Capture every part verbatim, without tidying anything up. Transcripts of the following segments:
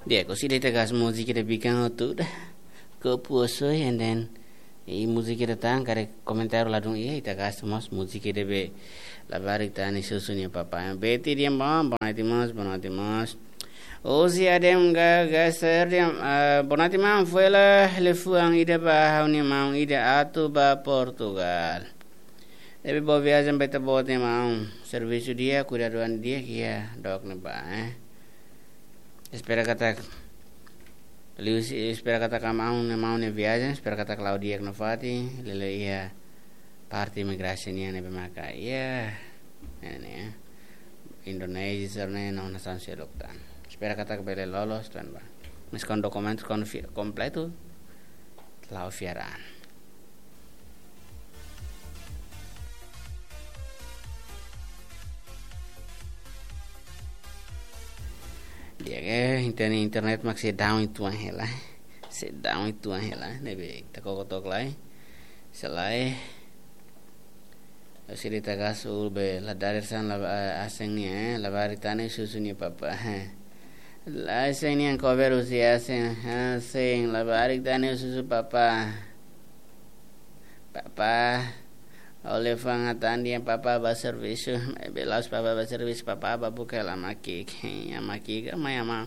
Di'ak, orsida ita gas múzika ida bikan hotu ida. Kopu osoe, and then, i múzika ida tan, karik komentáriu ladún iha, ita gas mós múzika ida be labarik tan ne'e, Sussu nia papá. Beti di'ak, boa, boa noite mós, boa noite mós. Osi adem ga, gaser di'ak, ah, boa noite maun, foin hela liafuan ida ba ha'u-nia maun ida atu ba Portugal. Ne'ebé boa viajen ba ita-boot nia maun. Servisu di'ak, kuidadu an di'ak iha dook ne'ebá, eh. Espera katak, liuhusi, espera katak maun, maun nia viajen, espera katak la'o di'ak nafatin, lele iha parte imigrasaun nian ne'ebé maka iha, ne'e, ne'e, Indonézia, sira-ne'e, no nasaun seluk tan. Espera katak bele loloos tan ba. Maibé kuandu dokumentu konfi-, kompletu, la'o fiar an. Di'ak, eh, internet, internet mak sei down uitoan hela. Sei down uitoan hela, ne'ebé ita koko took lai. Sei lai. Orsida ita gas uluk be la dadeer-saan la, eh, Aseng nian, eh, labarik tan ne'e, Sussu nia papá, eh. La Aseng nian cover husi Aseng, Aseng, labarik tan ne'e, Sussu papá. Papá, ha'u liafuan hatán dehan papá ba servisu, maibé la'ós papá ba servisu, papá ba buka hela ama ki'ik, ama ki'ik, ama, ama.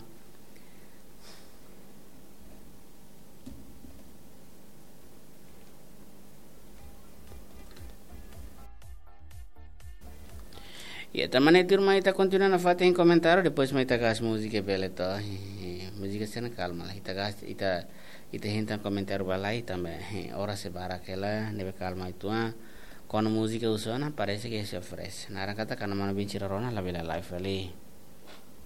Ya, tanba ne'e tuirmai, ita kontinua nafatin komentáriu, depois mai ita gas múzika bele to. Múzika sira-ne'e kalma lai. Ita gas, ita, ita hein tan komentáriu ba lai, tanba, eh, oras sei barak hela, ne'ebé kalma uitoan. Kuandu múzika husu ona, parese ke sei fresh. Naran katak, kuandu manu bin sira rona, labele live fali.